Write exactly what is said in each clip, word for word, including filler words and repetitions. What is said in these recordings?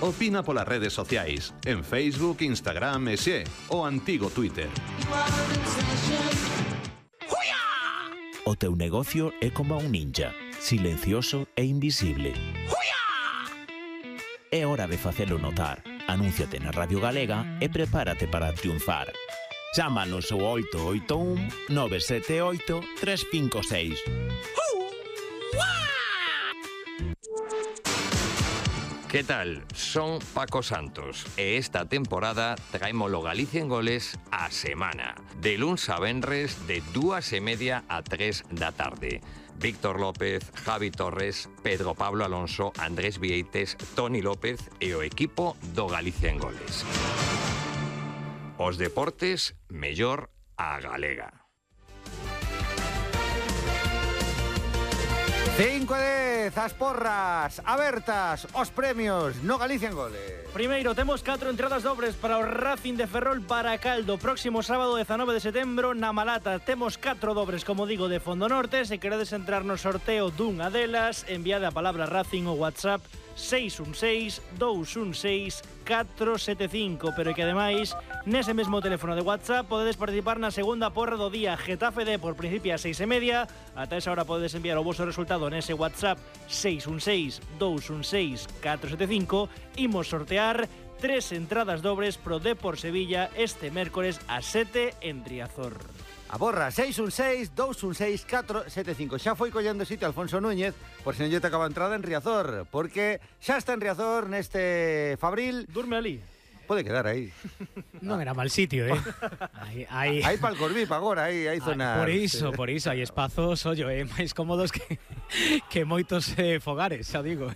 Opina polas redes sociais, en Facebook, Instagram e xe, o antigo Twitter. O teu negocio é como un ninja, silencioso e invisible. É hora de facelo notar. Anúnciate na Radio Galega e prepárate para triunfar. Chámanos ao oito oito un nove sete oito tres cinco seis. ¿Qué tal? Son Paco Santos e esta temporada traémolo Galicia en Goles a semana. De luns a venres de dúas e media a tres da tarde. Víctor López, Javi Torres, Pedro Pablo Alonso, Andrés Vieites, Toni López e o equipo do Galicia en Goles. Os deportes mellor a galega. cinco e dez, as porras abertas, os premios no Galicia en Goles. Primeiro, temos catro entradas dobres para o Racing de Ferrol para Caldo. Próximo sábado dezanove de setembro na Malata. Temos catro dobres, como digo, de Fondo Norte. Se queredes entrar no sorteo dunha delas, enviade a palabra Racing o WhatsApp seis un seis, dous un seis, catro sete cinco, pero que ademais nese mesmo teléfono de WhatsApp podedes participar na segunda porra do día Getafe D por principio a seis e media. Ata esa hora podedes enviar o vosso resultado nese WhatsApp seis un seis, dous un seis, catro sete cinco. Imos sortear tres entradas dobres pro Depor Sevilla este mércores a sete en Riazor. A borra, seis un seis, dous un seis, catro sete cinco. Xa foi collendo sitio Alfonso Núñez, por se non lle tocaba entrada en Riazor, porque xa está en Riazor neste Fabril. Durme ali. Pode quedar aí. Non era mal sitio, eh? Hai, hai... hai pal Corvip agora, aí hai zona... Por iso, por iso, hai espazos, ollo, eh, máis cómodos que, que moitos eh, fogares, xa digo.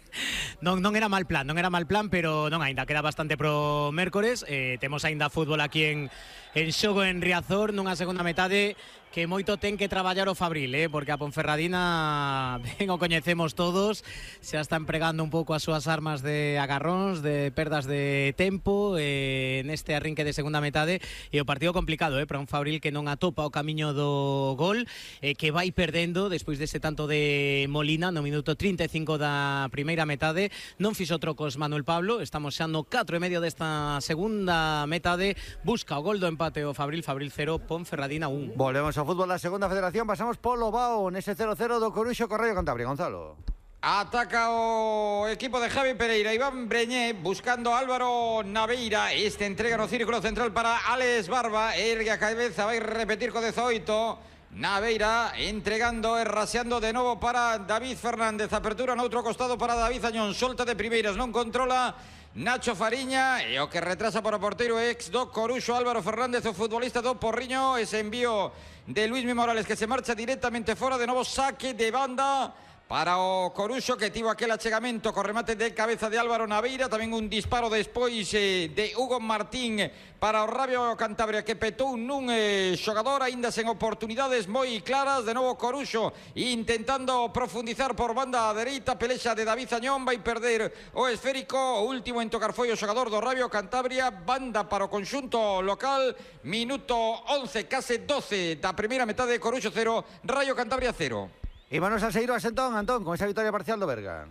Non, non era mal plan, non era mal plan, pero non, aínda queda bastante pro mércores. Eh, temos aínda fútbol aquí en, en xogo en Riazor, nunha segunda metade que moito ten que traballar o Fabril, eh? Porque a Ponferradina, ben o coñecemos todos, xa está empregando un pouco as súas armas de agarróns, de perdas de tempo eh, neste arrinque de segunda metade, e o partido complicado eh? Para un Fabril que non atopa o camiño do gol, eh, que vai perdendo despois dese tanto de Molina no minuto trinta e cinco da primeira metade. Non fixo trocos Manuel Pablo, estamos xa no catro e medio desta segunda metade, busca o gol do empate o Fabril, Fabril cero, Ponferradina un. Volvemos ao fútbol da segunda federación, pasamos polo Bao nese cero cero do Coruxo co Raio Cantabria. Gonzalo. Ataca o equipo de Javi Pereira. Iván Breñé buscando a Álvaro Naveira. Este entrega no círculo central para Alex Barba. Ergue a cabeza, vai repetir co dezoito. Naveira entregando e raseando de novo para David Fernández. Apertura no outro costado para David Añón. Solta de primeiras, non controla Nacho Fariña, e o que retrasa para o porteiro ex do Coruxo Álvaro Fernández, o futbolista do Porriño. Ese envío de Luismi Morales que se marcha directamente fora. De novo saque de banda para o Coruxo, que tivo aquel achegamento co remate de cabeza de Álvaro Naveira. Tamén un disparo despois eh, de Hugo Martín para o Raio Cantabria, que petou nun eh, xogador aínda sen oportunidades moi claras. De novo Coruxo intentando profundizar por banda dereita. Pelexa de David Añón, vai perder o esférico. O último en tocar foi o xogador do Raio Cantabria. Banda para o conxunto local. Minuto once, case doce da primeira metade. Coruxo cero, Raio Cantabria cero. E manos a Seiroas entón, Antón, con esa victoria parcial do Berga.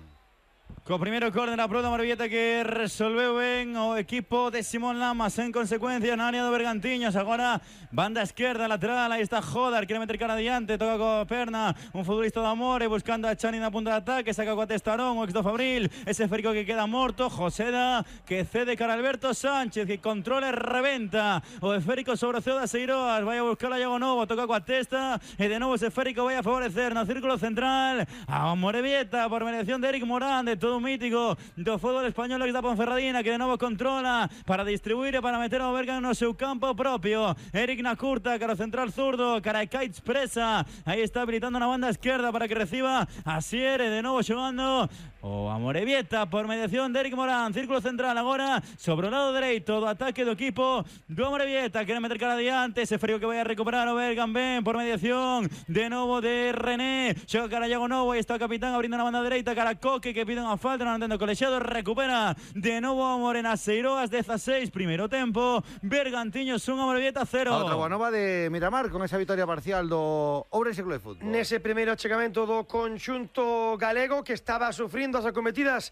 Co primeiro córner a prova Morevieta que resolveu ben o equipo de Simón Lamas en consecuencia na área do Bergantiños. Agora banda esquerda, lateral, aí está Jodar, quere meter cara adiante, toca co perna un futbolista do Amore buscando a Chani na punta de ataque, saca coa Testarón, o ex do Fabril, ese férico que queda morto. Joseda que cede cara a Alberto Sánchez, que controla e reventa o esférico sobre o ceo da Seiroas, vai a buscar a Iago Novo, toca coa testa e de novo ese esférico vai a favorecer no círculo central a Morevieta por mediación de Eric Morán, de todo un mítico do fútbol español que da Ponferradina, que de novo controla para distribuir e para meter ao Berga no seu campo propio. Eric na curta, cara central zurdo, cara Kaitz presa, aí está habilitando na banda esquerda para que reciba a Siere, de novo xogando o Amorebieta por mediación de Eric Morán. Círculo central agora sobre o lado dereito do ataque do equipo do Amorebieta, quere meter cara adiante, ese frío que vai a recuperar o Bergan ben por mediación de novo de René, xoga cara Iago Novo, aí está o capitán abrindo na banda dereita, cara Coque que pide unha falta, non entendo colexiado, recupera de novo a Morena Seiroas, dieciséis, primeiro tempo, Bergantiños un, Amorebieta cero. Outra boa nova de Miramar con esa victoria parcial do Ourense Club de Fútbol. Nese primeiro achegamento do conxunto galego que estaba sufrindo as acometidas